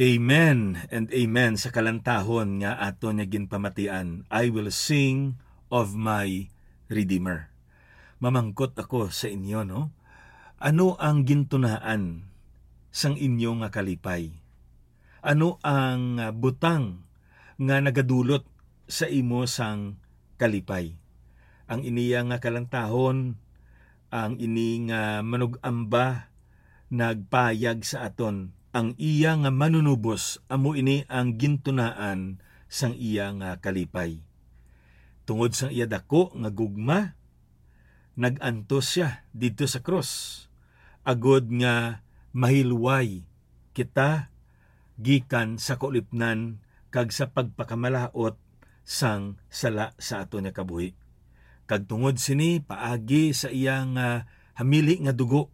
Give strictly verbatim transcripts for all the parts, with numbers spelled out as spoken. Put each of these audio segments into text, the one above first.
Amen and amen sa kalantahon nga aton nga ginpamatian, "I will sing of my Redeemer." Mamangkot ako sa inyo, no? Ano ang gintunaan sang inyo nga kalipay? Ano ang, ah, butang nga nagadulot sa imo sang kalipay? Ang iniya nga kalantahon, ang ini nga manug-amba nagpayag sa aton, ang iya nga manunubos amo ini ang gintunaan sang iya nga kalipay. Tungod sang iya dako nga gugma, nag-antos sia didto sa krus, agod nga mahilway kita gikan sa kaulipnan kag sa pagpakamalaut sang sala sa aton nga kabuhi. Kag tungod sini, paagi sa iya nga hamili nga dugo,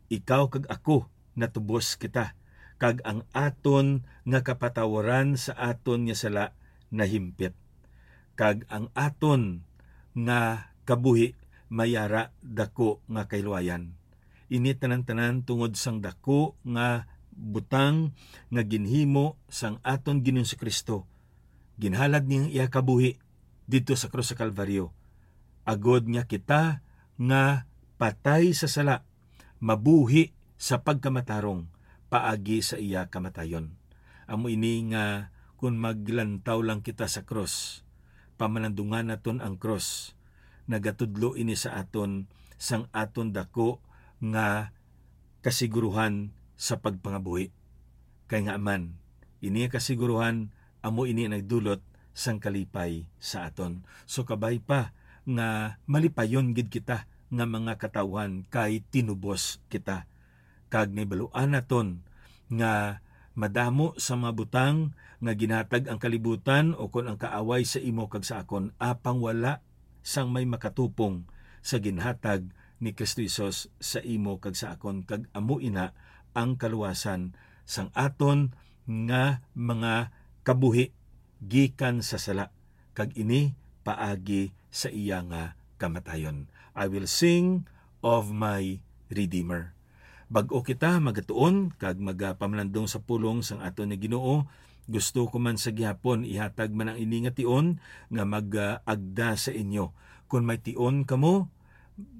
ikaw kag ako natubos kita, kag ang aton nga kapatawaran sa aton nga sala nahimpit, kag ang aton nga kabuhi may ara dako nga kahilwayan. Ini tanan-tanan tungod sang dako nga butang nga ginhimo sang aton Ginoong Jesu-Cristo. Ginhalad niya ang iya kabuhi didto sa krus sa Kalbaryo, agod nga kita nga patay sa sala mabuhi sa pagkamatarong paagi sa iya kamatayon. Amo ini nga kon maglantaw lang kita sa krus, pamalandungan naton ang krus, nagatudlo ini sa aton sang aton dako nga kasiguruhan sa pagpangabuhi. Kay nga man, ini nga kasiguruhan amo ini nagdulot sang kalipay sa aton. So, kabay pa nga malipayon gid kita nga mga katawhan kay tinubos kita. Kag nahibaluan naton nga madamo sa mga butang nga ginhatag ang kalibutan o kon ang kaaway sa imo kag sa akon, apang wala sang may makatupong sa ginhatag ni Kristo Jesus sa imo kag sa akon, kag amo ina ang kaluwasan sang aton nga mga kabuhi gikan sa sala, kag ini paagi sa iya nga kamatayon. I will sing of my Redeemer. Bag-o kita magatuon kag magapamalandong sa pulong sang aton nga Ginoo, gusto ko man sa gihapon ihatag man ang ini nga tion nga mag-agda sa inyo. Kon may tion kamo,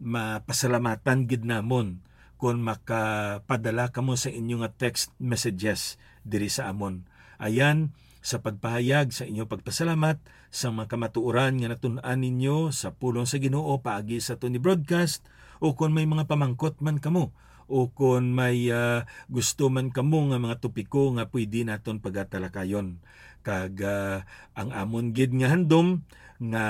mapasalamatan gid namon kon makapadala kamo sa inyo nga text messages diri sa amon. Ayan, sa pagpahayag sa inyo pagpasalamat sa mga kamatuoran nga natun-an ninyo sa pulong sa Ginoo paagi sa aton ni broadcast, o kon may mga pamangkot man kamo, o kon may, ah, gusto man kamo nga mga topiko nga pwede naton pagatalakayon. Kag, ah, ang amon gid nga handom nga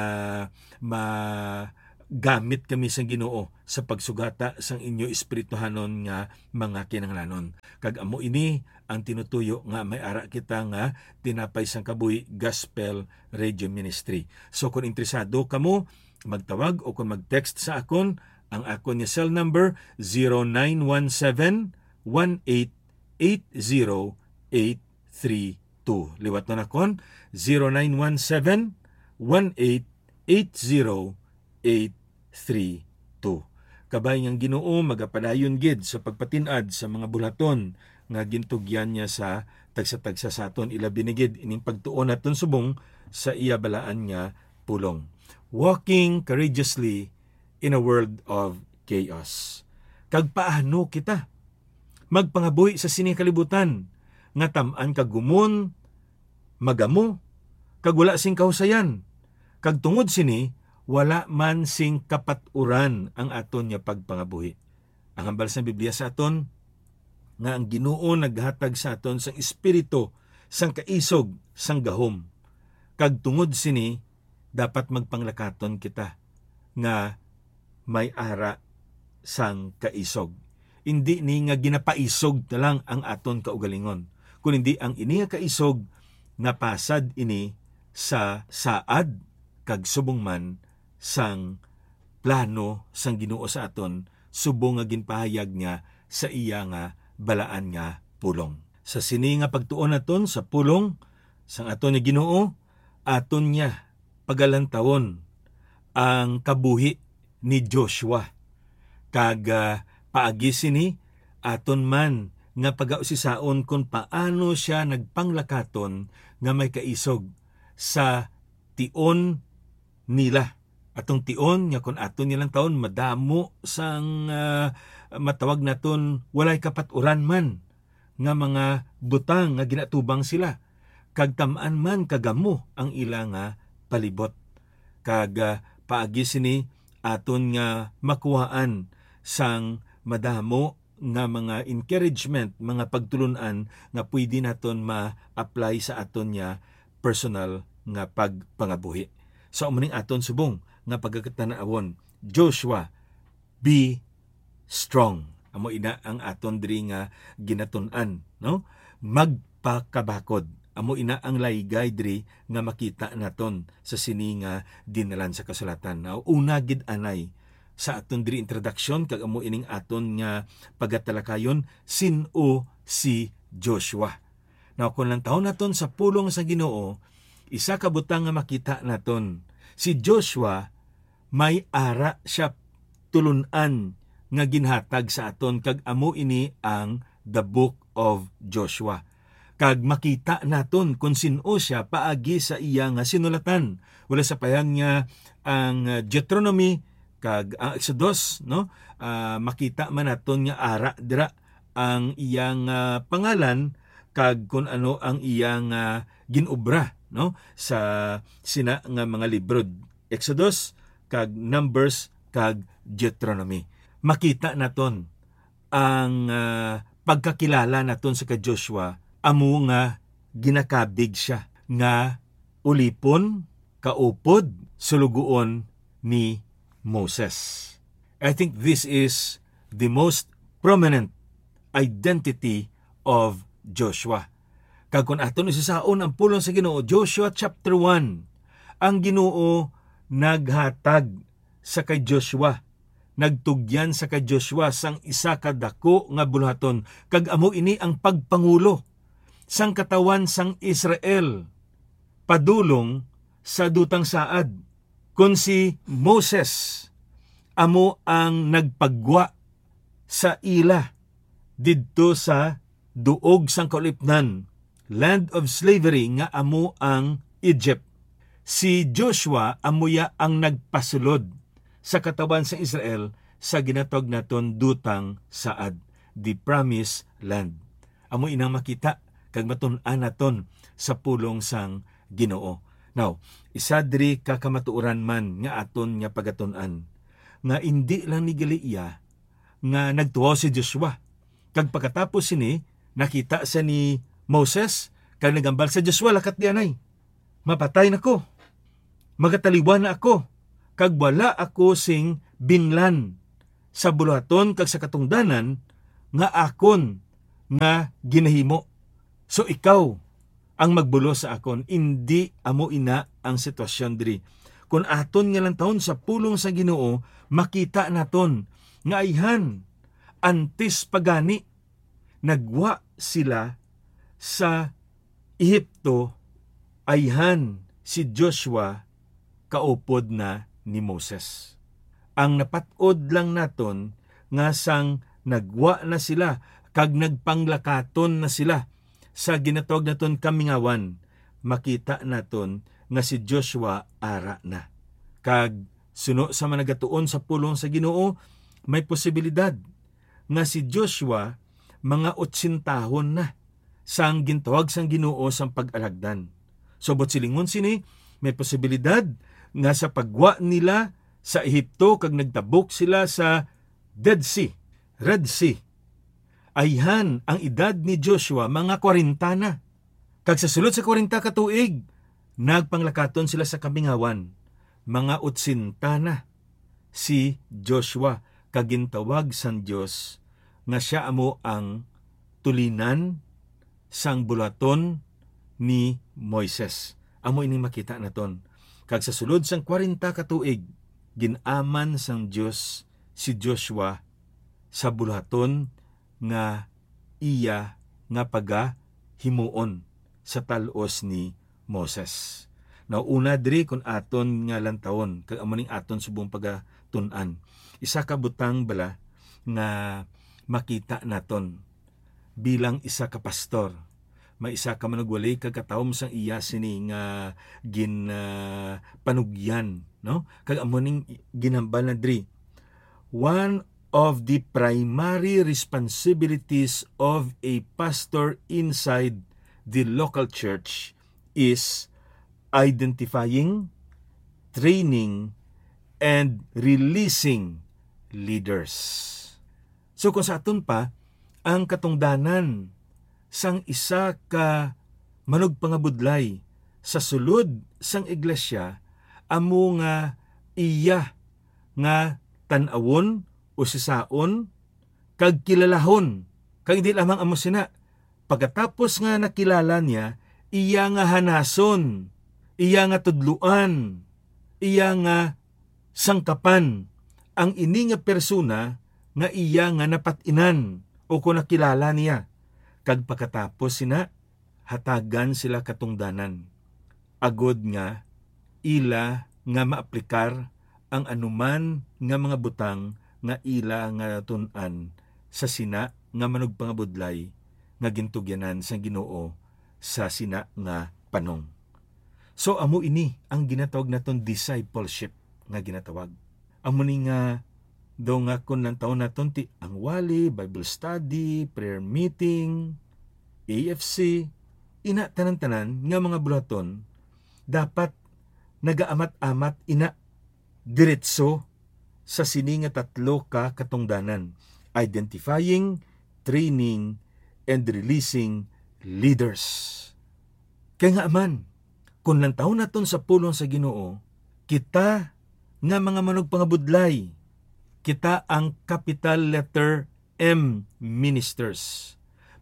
magamit kami sang Ginoo sa pagsugata sang inyo espirituhanon nga mga kinahanglanon. Kag amo ini ang tinutuyo nga may ara kita nga Tinapay sang Kabuhi Gospel Radio Ministry. So, kung interesado kamo, magtawag o kung mag-text sa akon, ang akon nga cell number, zero nine one seven, one eight eight zero eight three two. Liwat na nakon, zero nine one seven, one eight eight zero eight three two. Kabay nga ang Ginoo magapadayon gid sa pagpatin-ad sa mga bulaton nga gintugyan niya sa tagsa-tagsa sa aton, ilabi na gid ining pagtuon naton subong sa iya balaan nga pulong. Walking courageously in a world of chaos. Kag paano kita magpangabuhi sa sini kalibutan nga tam-an kag gumon, magamo, kag wala sing kahusayan, kag tungod sini wala man sing kapat-uran ang aton nga pagpangabuhi. Ang hambal sang Biblia sa aton nga ang Ginoo naghatag sa aton sang espiritu sang kaisog, sang gahom, kag tungod sini dapat magpanglakaton kita nga may ara sang kaisog. Indi ni nga ginapaisog na lang ang aton kaugalingon, kun hindi ang ini nga kaisog napasad ini sa saad kag subong man sang plano sang Ginoo sa aton, subong nga ginpahayag niya sa iya nga balaan nga pulong. Sa sini nga pagtuon naton sa pulong sang aton nga Ginoo, aton niya pagalantawon ang kabuhi ni Joshua. Kag, ah, paagi sini, aton man nga pagausisaon kon paano sia nagpanglakaton nga may kaisog sa tion nila. Atong tion nga, kon aton nilang taon, madamo sang, ah, matawag naton walay kapat-uran man nga mga butang nga ginatubang sila, kag tam-an man kagamo ang ila nga palibot. Kag, ah, paagi sini, aton nga makuhaan sang madamo nga mga encouragement, mga pagtulon-an nga pwede naton ma-apply sa aton nga personal nga pagpangabuhi. So, amo ning aton subong nga pagkakatan-awon, Joshua, be strong. Amo ina ang aton diri nga ginatun-an, no? Magpakabakod. Amo ina ang laygay diri nga makita naton sa sini nga dinalan sa kasulatan. Now, una gid anay sa aton diri introduction, kag amo ining aton nga pagatalakayon, sin-o si Joshua. Now, kung lantawon naton sa pulong sa Ginoo, isa ka butang nga makita naton, si Joshua may ara siya tulun-an nga ginhatag sa aton, kag amo ini ang The Book of Joshua. Kag makita naton kon sin-o sia paagi sa iya nga sinulatan. Wala sa payan nga ang, ah, Deuteronomy kag ang Exodus, no? Ah, makita man naton nga ara dira ang iyang, ah, pangalan kag kun ano ang iyang, ah, ginobra, no? Sa sina nga mga libro, Exodus kag Numbers kag Deuteronomy. Makita naton ang, ah, pagkakilala naton sa kay Joshua, amo nga ginakabig sia nga ulipon, kaupod, sulugoon ni Moses. I think this is the most prominent identity of Joshua. Kag kung aton usisaon ang pulong sa Ginoo, Joshua chapter one, ang Ginoo naghatag sa kay Joshua, nagtugyan sa kay Joshua sang isa ka daku nga buluhaton, kag amo ini ang pagpangulo sang katawan sang Israel padulong sa dutang saad. Kon si Moses amo ang nagpagwa sa ila didto sa duog sang kaulipnan, land of slavery, nga amo ang Egypt, si Joshua amo ya ang nagpasulod sa katawan sang Israel sa ginatawag naton dutang saad, the promised land. Amo inang makita kag matun-an naton sa pulong sang Ginoo. Now, isa diri ka kamatuoran man nga aton nga pagatun-an, nga indi lang ni gali iya nga nagtuo si Joshua, kag pagkatapos sini, nakita sia ni Moses kag nagambal sa Joshua, "Lakat di anay, mapatay na ko, magataliwan na ako, kag wala ako sing binlan sa buluhaton kag sa katungdanan nga akon nga ginahimo. So ikaw ang magbulos sa akon." Indi amo ina ang sitwasyon diri. Kon aton nga lantawon sa pulong sa Ginoo, makita naton nga ayhan, antes pa gani nagwa sila sa Ehipto, ayhan si Joshua kaupod na ni Moses. Ang napat-od lang naton nga sang nagwa na sila kag nagpanglakaton na sila sa ginatawag naton kamingawan, makita naton nga si Joshua ara na. Kag suno sa mga nagatuon sa pulong sa Ginoo, may posibilidad nga si Joshua mga otsentahon na sang gintawag sang Ginoo sang pag-alagdan. Subot silingon sini, may posibilidad nga sa pagwa nila sa Ehipto kag nagtabok sila sa Dead Sea, Red Sea, ayhan ang edad ni Joshua mga kwarenta na. Kag sa sulod sa kwarenta ka tuig, nagpanglakaton sila sa kamingawan, mga otsenta na si Joshua, kag gintawag sang Dios nga sia amo ang tulinan sang bulaton ni Moises. Amo ini makita naton. Kag sa sulod sang kwarenta ka tuig, gin-aman sang Dios si Joshua sa bulaton nga iya nga pagahimuon sa tal-os ni Moses. Now, una diri, kun aton nga lantawon, kag amo ning aton subong pagatun-an, isa ka butang bala nga makita naton bilang isa ka pastor. May isa ka manugwali kag katawom sang iya sini nga gin, ah, panugyan, no? Kag amo ning ginhambal na diri. One of the primary responsibilities of a pastor inside the local church is identifying, training, and releasing leaders. So, kung sa aton pa, ang katungdanan sang isa ka manugpangabudlay sa sulod sang iglesia amo nga iya nga tan-awon, usisaon, kag kilalahon. Kag di lamang amo sina, pagkatapos nga nakilala niya, iya nga hanason, iya nga tudloan, iya nga sangkapan ang ini nga persona nga iya nga napat-inan o kon nakilala niya. Kag pagkatapos sina, hatagan sila katungdanan, agod nga ila nga maaplikar ang anuman nga mga butang nga ila nga natun-an sa sina nga manugpangabudlay nga gintugyanan sang Ginoo sa sina nga panong. So, amo ini ang ginatawag naton discipleship nga ginatawag. Amo ni nga daw nga kon lantawon naton ti ang wali, Bible study, prayer meeting, A F C, ina tanan-tanan nga mga buluhaton dapat nagaamat-amat ina diretso sa sini nga tatlo ka katungdanan: identifying, training, and releasing leaders. Kay nga man, kung lantawon naton sa pulong sa Ginoo, kita nga mga manugpangabudlay, kita ang capital letter M ministers.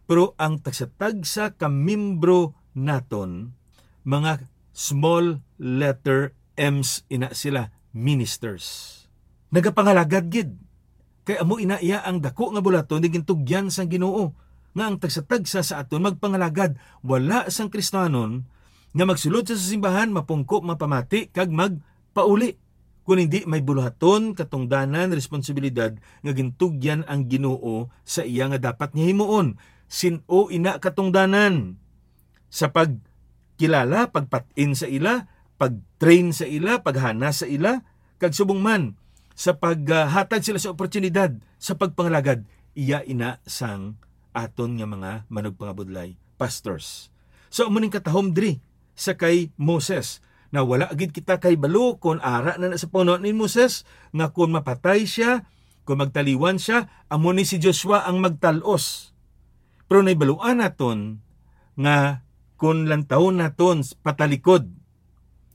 Pero ang tagsa-tagsa ka membro naton, mga small letter M's ina sila, ministers. Nagapangalagad gid. Kay amo ina iya ang dako nga bulaton nga gintugyan sang Ginoo, nga ang tagsa-tagsa sa aton magpangalagad. Wala sang Kristiyanon nga magsulod sa simbahan, mapungko, mapamati, kag magpauli. Kon hindi, may buluhaton, katungdanan, responsibilidad nga gintugyan ang Ginoo sa iya nga dapat niya himuon. Sin-o ina katungdanan? Sa pagkilala, pagpat-in sa ila, pag-train sa ila, paghana sa ila, kag subong man sa paghatag sila sa oportunidad sa pagpangalagad, iya ina sang aton nga mga manugpangabudlay, pastors. So, amo ning katahom diri sa kay Moses, na wala gid kita kahibalo kon ara na na sa panahon ni Moses, nga kon mapatay sia, kon magtaliwan sia, amo ni si Joshua ang magtal-os. Pero nahibaluan naton nga kon lantawon naton patalikod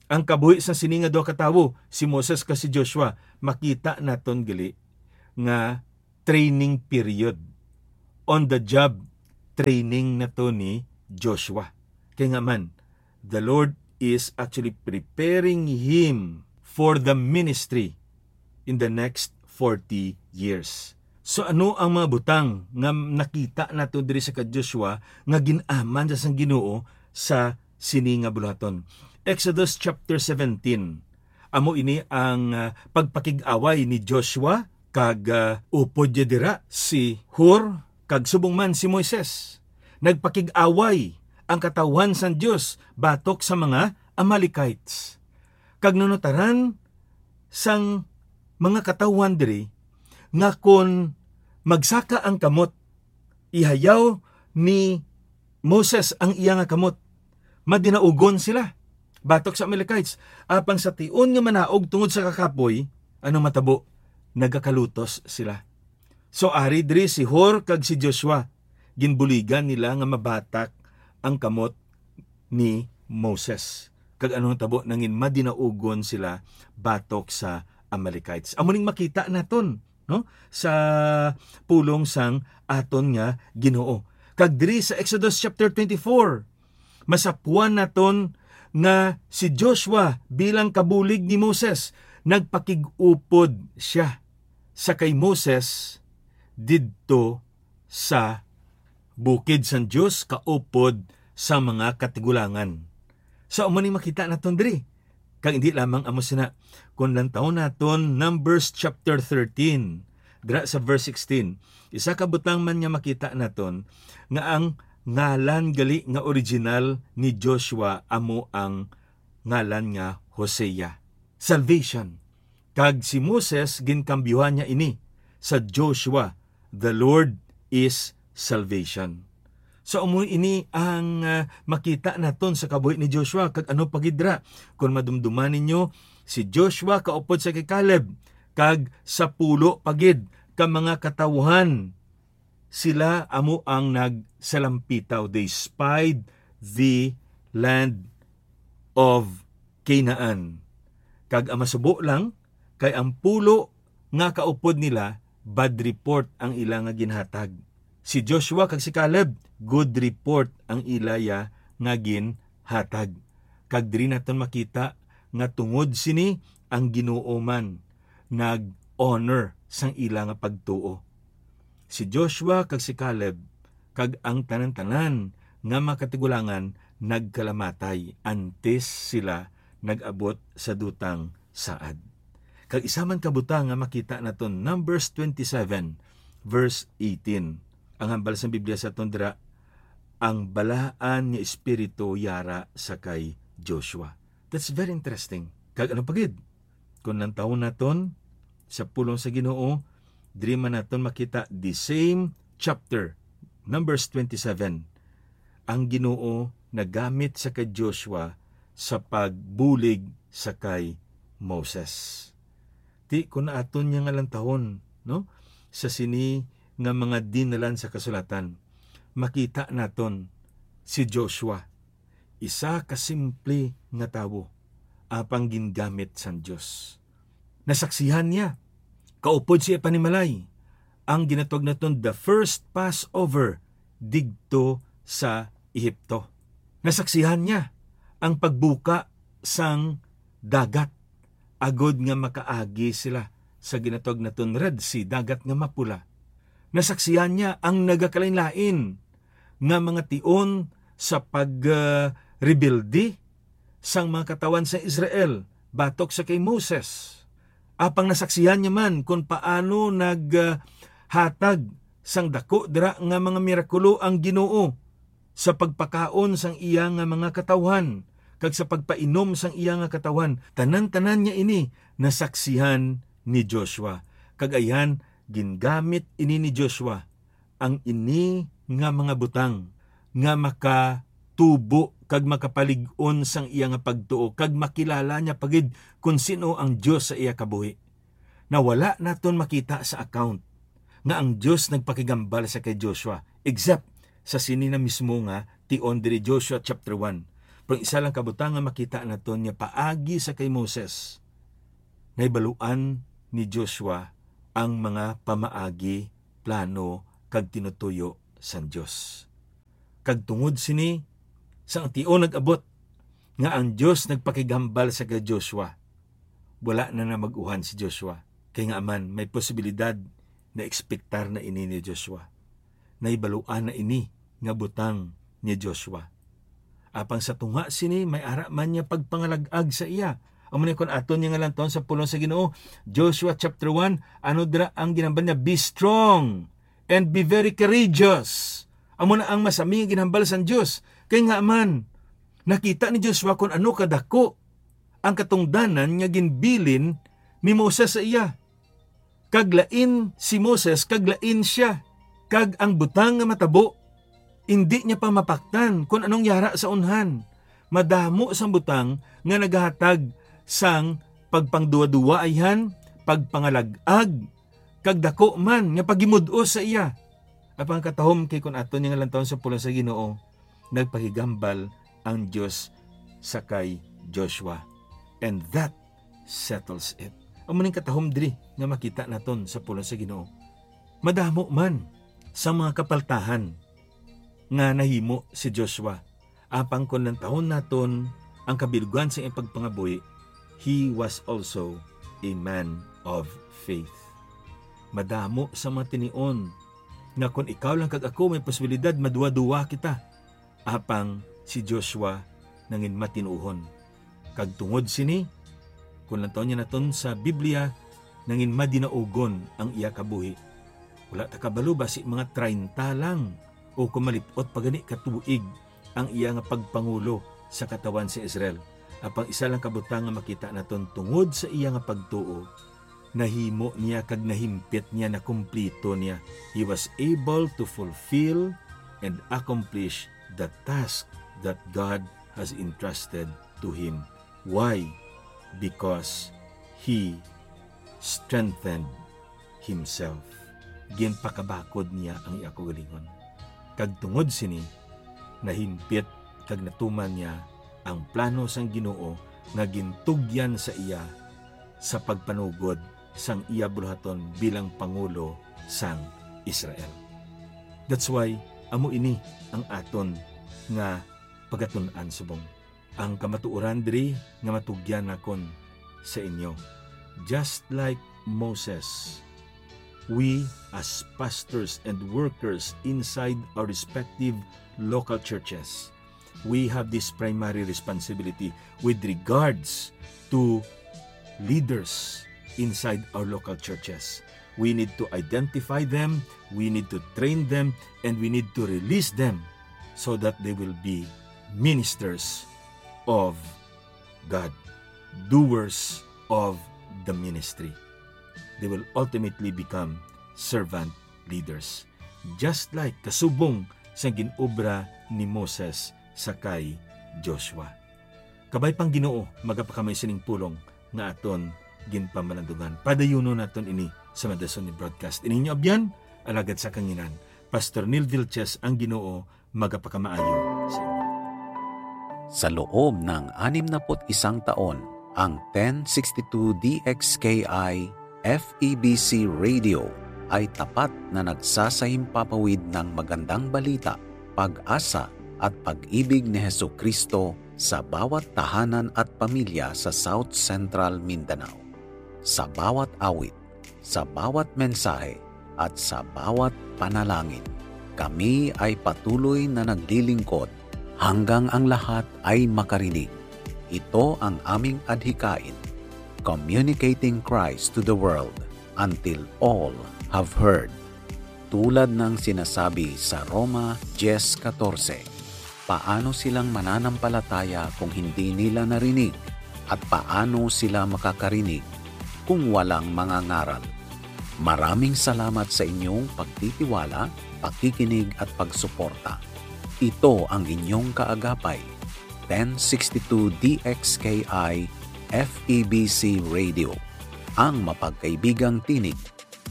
ang kabuhi sa sini nga duha ka tawo, si Moses kag si Joshua, makita naton gali nga training period. On the job training na to ni Joshua. Kay nga man, the Lord is actually preparing him for the ministry in the next forty years. So, ano ang mga butang nga nakita nato diri sa kay Joshua nga gin-aman sa sang Ginoo sa sini nga buluhaton? Exodus chapter seventeen. Amo ini ang, ah, pagpakig-away ni Joshua kag, ah, upod niya dira si Hur kag subong man si Moises. Nagpakig-away ang katawhan sang Dios batok sa mga Amalekites. Kag nanutaran sang mga katawhan diri nga kon magsaka ang kamot, ihayaw ni Moses ang iya nga kamot, madinaugon sila batok sa Amalekites. Apang sa tion nga manaog tungod sa kakapoy, ano matabo? Nagakalutos sila. So, ari diri si Hur kag si Joshua, ginbuligan nila nga mabatak ang kamot ni Moses. Kag ano ang tabo? Nangin madinaugon sila batok sa Amalekites. Amo ning makita naton, no, sa pulong sang aton nga Ginoo. Kag diri sa Exodus chapter twenty-four, masapwan naton nga si Joshua, bilang kabulig ni Moses, nagpakig-upod sia sa kay Moses didto sa bukid sang Dios, kaupod sa mga katigulangan. So, amo ni makita naton diri. Kag hindi lamang amo sina, kung lantawon naton Numbers chapter thirteen, Dira sa verse sixteen, isa ka butang man nga makita naton nga ang ngalan gali nga original ni Joshua amo ang ngalan nga Hosea, salvation. Kag si Moses, ginkambyuhan niya ini sa Joshua, "The Lord is salvation." So, amo ini ang, ah, makita naton sa kabuhi ni Joshua. Kag ano pa gid ra, kung madumduman ninyo, si Joshua kaupod sa kay Caleb, kag sa pulo pa gid ka mga katawhan, sila amo ang nagsalampitaw. They spied the land of Canaan. Kag ang masubo lang, kay ang pulo nga kaupod nila, bad report ang ila nga ginhatag. Si Joshua kag si Caleb, good report ang ilaya nga ginhatag. Kag diri naton makita nga tungod sini, ang Ginoo man nag-honor sang ila nga pagtuo. Si Joshua kag si Caleb kag ang tanan-tanan nga mga katigulangan nagkalamatay antes sila nag-abot sa dutang saad. Kag isa man ka butang nga makita naton, Numbers twenty-seven, verse eighteen. Ang hambal sang Biblia sa aton dira, ang balaan nga espiritu yara sa kay Joshua. That's very interesting. Kag ano pa gid? Kung lantawon naton sa pulong sa Ginoo, diri man naton makita the same chapter, Numbers twenty-seven. Ang Ginoo nagamit sa kay Joshua sa pagbulig sa kay Moses. Ti, kung aton niya nga lantawon, no, sa sini nga mga dinalan sa kasulatan, makita naton si Joshua, isa ka simple nga tawo, apang gingamit sang Dios. Nasaksihan niya, kaupod sa iya panimalay, ang ginatawag naton the first Passover didto sa Ehipto. Nasaksihan niya ang pagbuka sang dagat agod nga makaagi sila sa ginatawag naton Red Sea, dagat nga mapula. Nasaksihan niya ang nagakalainlain nga mga tion sa pag, ah, rebelde sang mga katawhan sa Israel batok sa kay Moses. Apang nasaksihan niya man kon paano nag, ah, hatag sang dako dira nga mga mirakulo ang Ginoo sa pagpakaon sang iya nga mga katawhan kag sa pagpainom sang iya nga katawhan. Tanan-tanan niya ini nasaksihan ni Joshua. Kag ayhan, gingamit ini ni Joshua ang ini nga mga butang nga makatubo kag makapalig-on sang iya nga pagtuo, kag makilala niya pa gid kon sin-o ang Dios sa iya kabuhi. Na wala naton makita sa account nga ang Dios nagpakigambal sa kay Joshua, except sa sini na mismo nga tion diri, Joshua chapter one. Pero isa lang ka butang nga makita naton nga paagi sa kay Moses, nahibaluan ni Joshua ang mga pamaagi, plano, kag tinutuyo sang Dios. Kag tungod sini, sang tion nag-abot nga ang Dios nagpakighambal sa kay Joshua, wala na namag-uhan si Joshua, kay ngaa man may posibilidad na ekspektar na ini ni Joshua. Nahibaluan na ini nga butang ni Joshua. Apang sa tunga sini, may ara man niya pagpangalag-ag sa iya. Amo na kon aton niya nga lantawon sa pulong sa Ginoo, Joshua chapter one, ano dira ang ginhambal niya? "Be strong and be very courageous." Amo na ang masami nga ginhambal sang Dios. Kay ngaa man, nakita ni Joshua kon ano kadako ang katungdanan nga ginbilin ni Moses sa iya. Kag lain si Moses, kag lain sia. Kag ang butang nga matabo, indi niya pa mapaktan kon anong yara sa unhan. Madamo sang butang nga nagahatag sang pagpangduwa-duwa ayhan, pagpangalag-ag, kag daku man nga paghimud-os sa iya. Apang katahom kay kon aton niya nga lantawon sa pulong sa Ginoo, nagpakigambal ang Dios sa kay Joshua. And that settles it. Amo ning katahom diri nga makita naton sa pulong sa Ginoo. Madamo man sa mga kapaltahan nga nahimo si Joshua, apang kon lantawon naton ang kabilughan sa iyang pagpangabuhi, he was also a man of faith. Madamo sa mga tinion nga kon ikaw lang kag ako may posibilidad maduwa-duwa kita, apang si Joshua nangin matinuohon. Kag tungod sini, kon lantawon niya naton sa Biblia, nangin madinaugon ang iya kabuhi. Wala ta kabalo, basi mga treinta lang o kung malip-ot pa gani ka tuig ang iya nga pagpangulo sa katawhan sa Israel. Apang isa lang ka butang nga makita naton, tungod sa iya nga pagtuo, nahimo niya kag nahimpit niya, nakumplito niya. He was able to fulfill and accomplish the task that God has entrusted to him. Why? Because he strengthened himself. Ginpakabakod niya ang iya kaugalingon. Kag tungod sini, nahimpit kag natuman niya ang plano sang Ginoo nga gintugyan sa iya sa pagpanugod sang iya buluhaton bilang pangulo sang Israel. That's why amo ini ang aton nga pagatun-an subong. Ang kamatuoran diri nga matugyan nakon sa inyo. Just like Moses, we as pastors and workers inside our respective local churches, we have this primary responsibility with regards to leaders inside our local churches. We need to identify them, we need to train them, and we need to release them so that they will be ministers of God, doers of the ministry. They will ultimately become servant leaders, just like kasubong sa ginobra ni Moses sa kay Joshua. Kabay pang Ginoo, magapakamay sining pulong nga aton ginpamalandungan. Padayunon naton ini sa madason ni broadcast. Ining inyo abyan, alagad sa kanginan, Pastor Neil Vilches, ang Ginoo magapakamaayo sa inyo. Sa loob ng anim na put isang taon, ang ten sixty-two D X K I F E B C Radio ay tapat na nagsasahimpapawid ng magandang balita, pag-asa, at pag-ibig ni Jesu-Cristo sa bawat tahanan at pamilya sa South Central Mindanao. Sa bawat awit, sa bawat mensahe, at sa bawat panalangin, kami ay patuloy na naglilingkod hanggang ang lahat ay makarinig. Ito ang aming adhikain, communicating Christ to the world until all have heard. Tulad ng sinasabi sa Roma diyes katorse, paano silang mananampalataya kung hindi nila narinig? At paano sila makakarinig kung walang mangangaral? Maraming salamat sa inyong pagtitiwala, pakikinig at pagsuporta. Ito ang inyong kaagapay, ten sixty-two D X K I F E B C Radio, ang mapagkaibigang tinig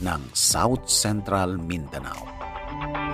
ng South Central Mindanao.